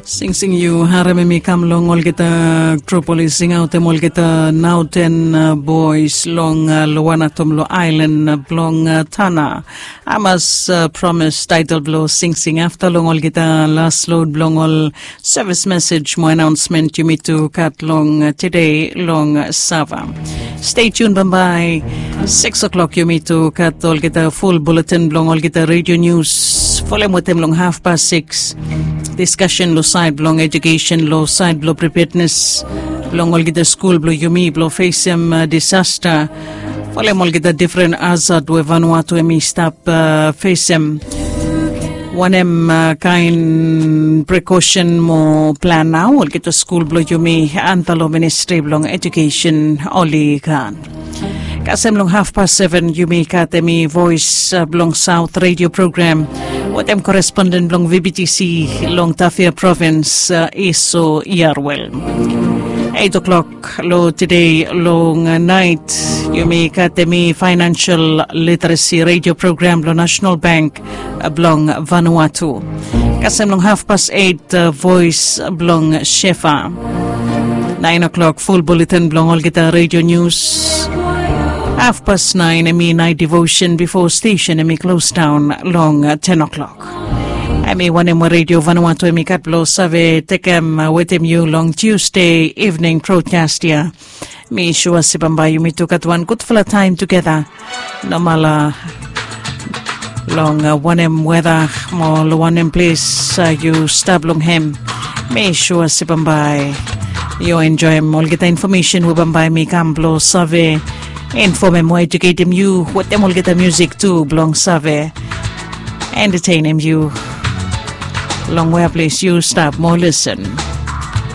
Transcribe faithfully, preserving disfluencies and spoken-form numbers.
Singsing yu harem em i kam long olgeta grup oli singaotem olgeta naoten bois long luanatom long ailan blong tana. Amas promis taitel blong singsing afta long olgeta las lod blong ol sevis mesej mo anaonsmen yumi tu gat long tede long sava. Stay tun bambae. Sikis o'klok yumi tu gat olgeta ful buletin blong olgeta redio nius folem wetem long hafpas sikis. Diskasen long saed blong ejukesen long saed blong pripetnes blong olgeta skul blong yumi blong fesem disasta folem olgeta difren azad we vanua tu em i stap fesem. Wanem kaen prekosen mo plan nao olgeta skul blong yumi anta long ministri blong ejukesen oli gat. Kasem long hafpas seven yumi gat em i voes blong saot redio program wetem koresponden blong vbtc long tafia provins, iso yarwel. Eit o'klok long tede long naet yumi gat em i fainansel literesi redio program blong nasenal bank blong vanua tu. Kasem long hafpas eit voes blong shefa. Naen o'klok ful buletin blong olgeta redio nius. Hafpas naen em i naet devosen bifo stesen em i klosdaon long ten o'klok. Em i wanem we redio vanua tu em i gat blong save tekem wetem yu long tiusde ivning brodkas ya. Mi sua se bambae yumi tu gat wan gudfala taem tugeta. Nomala long wanem weda mo long wanem ples yu stap long hem. Mi sua se bambae yu enjoem olgeta infomesen we bambae mi kam blong save infomem mo ejuketem yu wetem olgeta musik tu blong save entetenem yu long wea ples yu stap mo lisen.